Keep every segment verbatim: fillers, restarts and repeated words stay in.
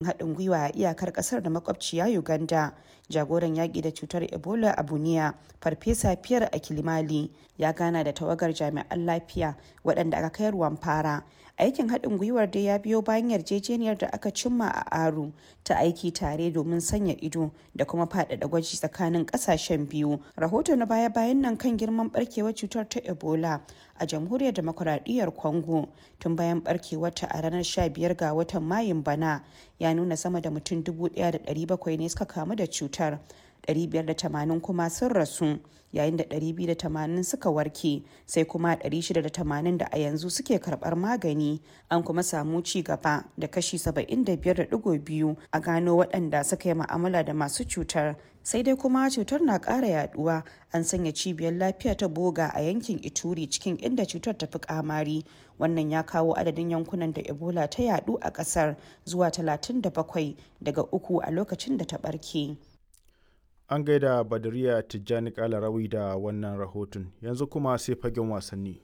Haɗin gwiwa a iyakar ƙasar da makwabciya Uganda, jagoran yaƙi da cutar Ebola a Bunia, Farfesa Pierre Akilimali, ya gana da tawagar jami'an lafiya waɗanda aka kai Rwampara. Aikin haɗin gwiwar dai ya biyo bayan yarjejeniyar da aka cimma a Aru ta aiki tare domin sanya ido da kuma faɗaɗa gwaji tsakanin ƙasashen biyu. Rahoto na baya-bayan nan kan girman ɓarkewar cutar ta Ebola a Jamhuriyar Dimokuraɗiyyar Congo tun bayan ɓarkewarta a ranar sha biyar ga watan Mayun bana ya nuna sama da mutum dubu ɗaya da ɗari bakwai ne suka kamu da cutar, ɗari biyar da tamanin kuma sun rasu, yayin da ɗari biyu da tamanin suka warke, sai kuma ɗari shida da tamanin da a yanzu suke karɓar magani. An kuma samu ci gaba da kashi saba'in da biyar da ɗigo biyu a gano waɗanda suka yi ma'amala da masu cutar. Sai dai kuma cutar na ƙara yaduwa. An sanya cibiyar lafiya ta Boga a yankin Ituri cikin inda cutar ta fi kamari. Wannan ya kawo adadin yankunan da Ebola ta yadu a ƙasar zuwa talatin da bakwai daga uku a lokacin da ta ɓarke. An gaida Badariya Tijjani Kalarawi da wannan rahoton. Yanzu kuma sai fagen wasanni.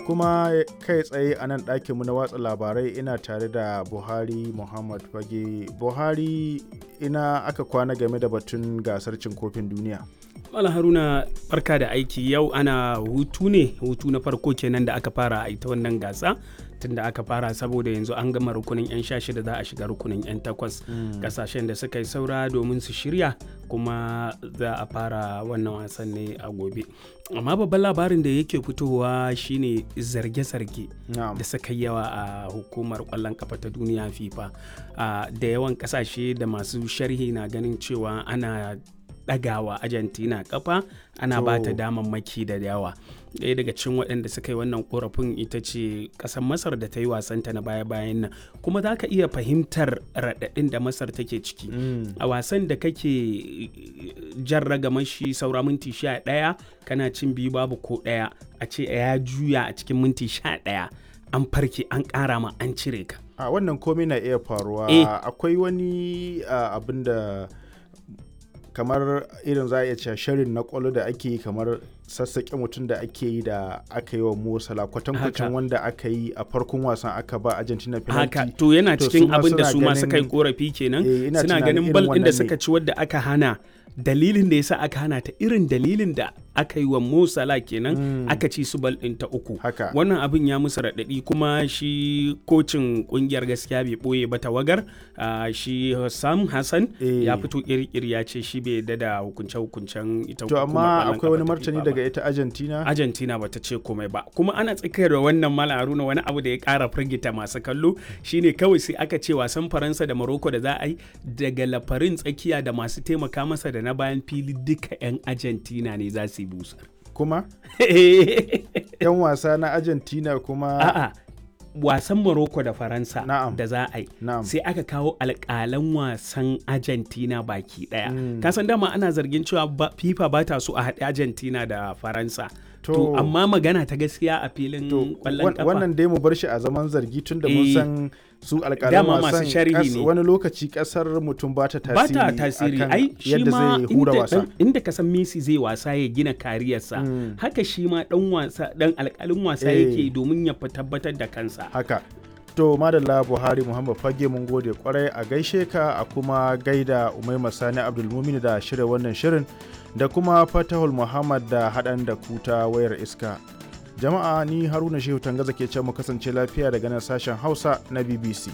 Kuma kai tsaye a nan ɗakinmu na watsa labarai ina tare da Buhari Muhammad Fage. Buhari, ina aka kwana game da batun gasar cin kofin duniya? Malam Haruna, barka da aiki. Yau ana hutu ne, hutu na farko kenan da aka fara a ita wannan gasa tunda aka fara, saboda yanzu an gama rukunin 'yan sha shida, za a shiga rukunin 'yan takwas, kasashen da suka yi saura domin su shirya, kuma za a fara wannan wasan ne a gobe. Amma babban labarin da yake fitowa shine zarge-zarge da suka yi yawa a hukumar kwallon kafa ta duniya, FIFA. Da yawan kasashe da masu sharhi na ganin cewa ana ɗagawa Argentina kafa, ana ba ta damammaki da yawa. Ɗaya daga cikin waɗanda suka yi wannan korafin ita ce ƙasar Masar da ta yi wasanta na baya-bayan nan, kuma za ka iya fahimtar raɗaɗin da Masar take ciki a wasan da kake jan ragamar shi saura minti sha ɗaya, kana cin biyu babu ko ɗaya, a ce ya juya a cikin minti sha ɗaya, an farke, an ƙara ma, an cire ka. A wannan komai na iya faruwa. Akwai wani abin da kamar irin za a iya cewa shirin na kwallo da ake yi, kamar sassaƙe mutum da ake yi da aka yi wa Mo Salah, kwatankwacin wanda aka yi a farkon wasan aka ba Argentina penalty. Haka, to yana cikin abin da su ma suka yi korafi kenan. Suna ganin bal ɗin da suka ci wadda aka hana, dalilin da yasa aka hana ta irin dalilin da aka yi wa Mo Salah kenan, mm. aka ci su bal ɗin ta uku. Wannan abin ya musu raɗaɗi, kuma shi kocin ƙungiyar gaskiya bai ɓoye ba, tawagar uh, shi Sam Hassan e. ya fito kirkiri ya ce shi bai yarda da hukunce-hukuncen ita. To amma akwai wani martani daga ita Argentina? Argentina bata ce komai ba. Kuma ana tsakiyar da wannan, Malam Haruna, wani abu da ya ƙara firgita masu kallo shine kawai sai aka ce wasan Faransa da Morocco da za a yi, daga lafarin tsakiya da masu taimaka masa da na bayan fili duka 'yan Argentina ne za su yi busar. Kuma? 'Yan wasa na Argentina kuma? A'a, wasan Morocco da Faransa da za a yi, sai aka kawo alƙalan wasan Argentina baki ɗaya. Mm. Kasan dama ana zargin cewa FIFA ba ta so a haɗe Argentina da Faransa. To, to amma magana ta gaskiya a filin kwallon kafa. Wannan dai mu bar shi a zaman zargi tun da mun san su alƙalan wasan sharhi ne. Wani lokaci kasar mutum ba ta tasiri. Ba ta tasiri, ai shi ma inda, inda ka san Messi zai wasa ya gina kariyarsa, mm. haka shi ma dan wasa, dan alƙalin wasa yake domin ya tabbatar da kansa. Haka. To madalla, Buhari Muhammad Fage, mun gode kwarai, a gaishe ka, a kuma gaida Umaima Sani Abdulmumin da shirya wannan shirin, da kuma Fatahul Muhammad da haɗan da kuta wayar iska. Jama'a, ni Haruna Shehu Tangaza ke ce mu kasance lafiya daga nan sashen Hausa na B B C.